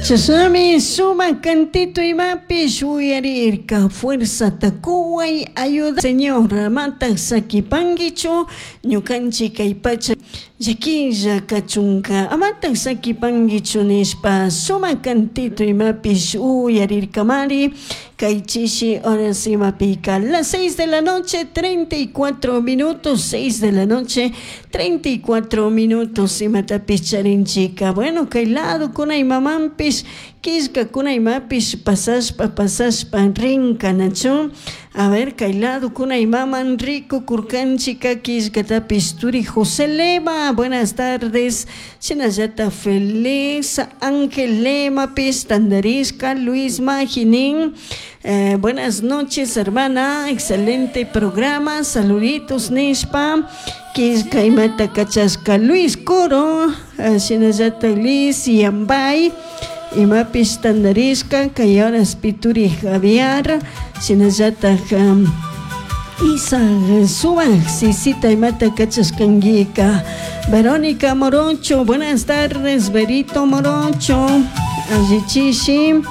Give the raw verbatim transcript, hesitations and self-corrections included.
Chashnami sumak cantito imapish uyarirka. Fuerzata kuway, ayuda Señor, amatak sakipankichu ñukanchik kay pacha llaquilla kachunka, amatak sakipankichu nishpa sumak cantito imapish uyarirkamari kay chishi horas imapika. Las seis de la noche treinta y cuatro minutos, seis de la noche treinta y cuatro minutos imatapish charinchika. Bueno, kay lado kunay mamanpish killkakuna imapish pasashpa pasashpa rinkanachu. A ver, kay lado kunay maman rikukurkanchika killkatapish turi José Lema, buenas tardes. Shinallata Feliz Ángel Lemapish tandarishka Luis Maginin. Eh, buenas noches, hermana, excelente programa, saluditos nishpa. Killka imata kachashka Luis Coro, eh, shinallata Luis Yambay. Imapish tandarishka kay horas pituri Javier, shinallatak um, Isa Sumak sisita imata kachashkankika. Verónica Morocho, buenas tardes, Verito Morocho, allichishi.